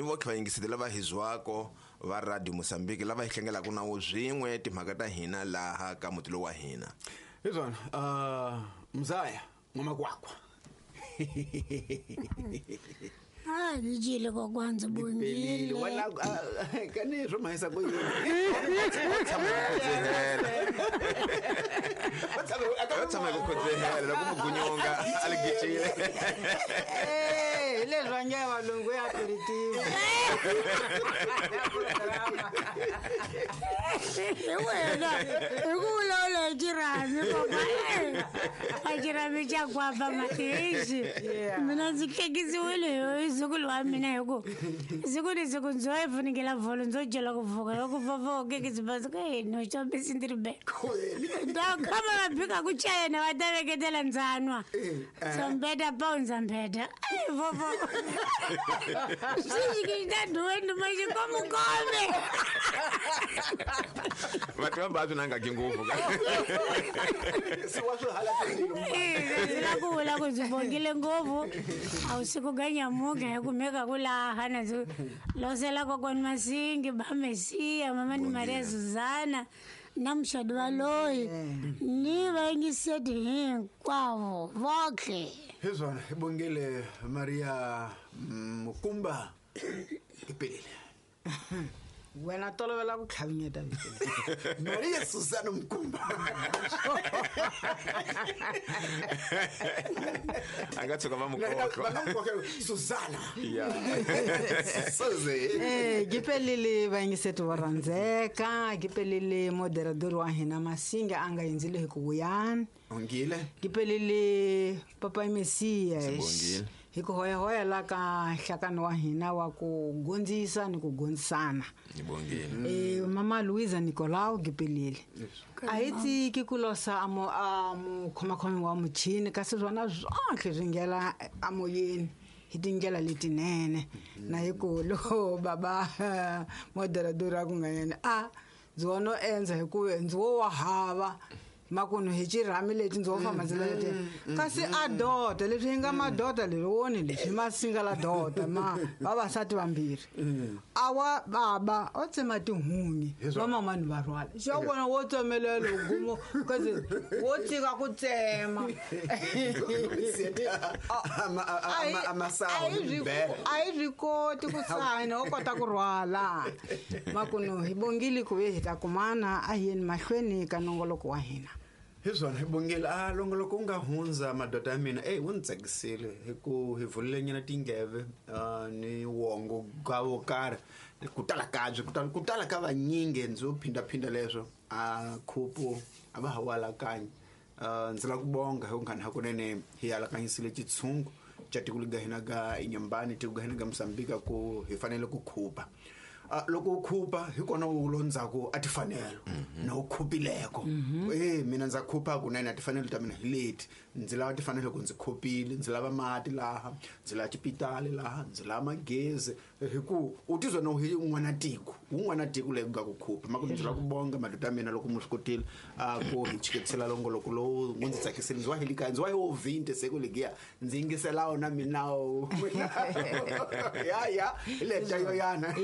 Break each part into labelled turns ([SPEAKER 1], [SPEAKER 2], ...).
[SPEAKER 1] vokhe vayingiseti lava hi zwako va Radio Mozambique lava hi hlengelaka na wo swin'we timhaka ta hina laha ka muti lowu wa hina.
[SPEAKER 2] Hi swona, mzaya n'wamakwakwa.
[SPEAKER 3] A ni dyile kokwana, ndzi
[SPEAKER 2] Pelile
[SPEAKER 3] bongile.
[SPEAKER 2] wena, kani swo mahisa ku yini?
[SPEAKER 1] Va tshama hi ku khodzehela loko mugunyonga a li gicile.
[SPEAKER 4] Eh, hi leswi va nge valungu ya aperitif.
[SPEAKER 3] Hi wena hi ku vulavula hi xirhami kokwana, a xirhami xa kwapa mahexi. Mina ndzi hlekisiwile hi zukulu wa mina hi ku siku ni siku ndzo yi funengela vholo, ndzo dyela ku pfuka loko vovho kekisi basi ka yini xombisi ndzi ri be ndakama va bika ku chayena va ta veketela ndzanwa sombeta paunza mbeta ai vovo swixikixitaduwenduma xikomukome.
[SPEAKER 1] Va tiva va swi nangaki ngopfu.
[SPEAKER 2] Se wa swi hala timbilu.
[SPEAKER 3] Ndzi la ku vula ku ndzi bongile ngopfu a wu siku ga nyamuka hi kumeka ku laha na ndzi losela kokwani Masingi ba Mesiya mama ni Maria Suzana na muxadi wa loyi ni vayingiseti hinkwavo votlhe.
[SPEAKER 2] Hi swona, hi bongile Maria Mukumba ipelile.
[SPEAKER 4] Wena tolovela ku tlhavinyeta vito.
[SPEAKER 2] Maria Susana Mukumba.
[SPEAKER 1] A nga tshuka va mukohlo.
[SPEAKER 2] Susana.
[SPEAKER 1] Ya.
[SPEAKER 2] Suze.
[SPEAKER 4] Eh, gipelile vayingiseti vo rhandzeka, gipelile moderador wa hina Masinga a nga hindzile hi ku vuyani.
[SPEAKER 2] Ongile.
[SPEAKER 4] Gipelile papa Mesiya.
[SPEAKER 1] Sibongile.
[SPEAKER 4] Hi ku hoyahoya la ka nhlakano wa hina wa ku gondzisa ni ku gondzisana.
[SPEAKER 1] Ni bongile.
[SPEAKER 4] Eh, mama Luisa Nicolau gipelile. A hi tiki ku losa a mo a mukhomakhomi wa muchini kasi swona swotlhe swi nghena amoyeni hi tindlela letinene na hi ku loko baba moderador a ku nga yena a ndzi wo no endza hi ku ndzi wo wa hava makunu hi xirhami leti ndzi wo famba ndzi leti kasi a dota leswi hi nga madota leswi woni leswi masinga la dota ma vavasati vambirhi awa baba o tsema tihunyi vamamani va rhwala xa vona wo tsemelela gumo kasi wo tika ku tsema.
[SPEAKER 2] Amasaho
[SPEAKER 4] A hi swi koti ku sayina wo kota ku rhwala makunu hi bongile ku ve hi ta kumana a hi yeni mahlweni ka nongoloko wa hina.
[SPEAKER 2] Hi swona, hi bongile a longoloko wu nga hundza madoda ya mina eyi wu ni tsakisile hi ku hi vulile nyana tindleve ni wongo ka wo karhi ku tala kabyi ku tala ka vanyingi ndzi wo phindaphinda leswo a khupu a va ha wu alakanyi. Ndzi lava ku bonga hi ku nghani hakunene hi alakanyisile xitshungu xa tiko lega hina ga Inyambani tiko ga hina ga Mozambique ku hi fanele ku khupa. Loko u khupa hi kona u londzhaku a tifanelo na u khupileko. Mina ndza khupa kunene a tifanelo ta mina hi leti ndzi lava tifanelo ku ndzi khupile ndzi lava mati laha ndzi lava xipitali laha ndzi lava magezi hi ku u tizwa no hi un'wana tiko un'wana tiko leyi ku nga ku khupa maku ndzi lava ku bonga madoda ya mina loko mu swi kotile ku hi chiketisela longoloko lowu wu ndzi tsakisile ndzi wa hi likaya ndzi wa hi wo 20 siku legiya ndzi yingisela wona minawo ya ya hi leta yo yana.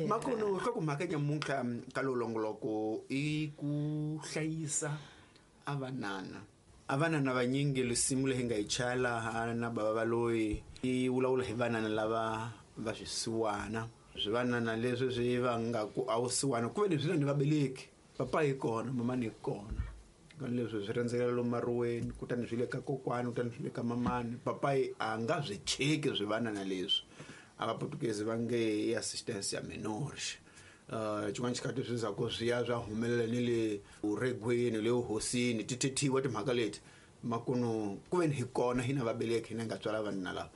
[SPEAKER 2] Makunu nhlokomhaka nyamuntlha ka lowu longoloko i ku hlayisa a vanana a vanana vanyingi risimu leyi nga yi chaya laha na bava va loyi yi vulavula hi vanana lava va swisiwana swivanana leswi swi va nga ku a wu siwana ku ve leswi na ni vabeleki papa hi kona mamani hi kona kani leswi swi rhendzekela lomu maruweni kutani swi le ka kokwani kutani swi le ka mamani papayi a nga swi cheki swivanana leswi a vaputukezi va nge i assistance ya menores. Xin'wana xikhathi swi za ku swi ya swa humelela ni le uregweni le uhosini ti thethiwa timhaka leti makunu ku veni hi kona hina vabeleki hina nga tswala vanuna lava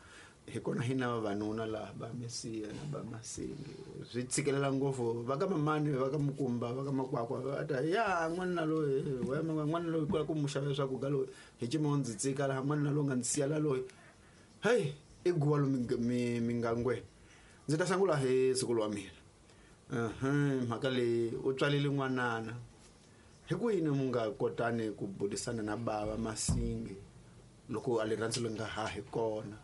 [SPEAKER 2] hi kona hina vavanuna laha va Mesiya na va Masingi swi tshikelela ngopfu va ka mamani va ka Mukumba va ka Makwakwa va ta ya n'wanuna loyi n'wanuna loyi kwala ku mu xavela swakudya loyi hi cima ndzi tsika laha n'wanuna loyi nga ndzi siya la loyi heyi i guwa lomu mingangweni ndzi ta sungula hi siku wa mina mhaka leyi u tswalile n'wanana hi ku yini mu nga kotani ku burisana na bava Masingi loko a rirhandzu leri nga ha hi kona.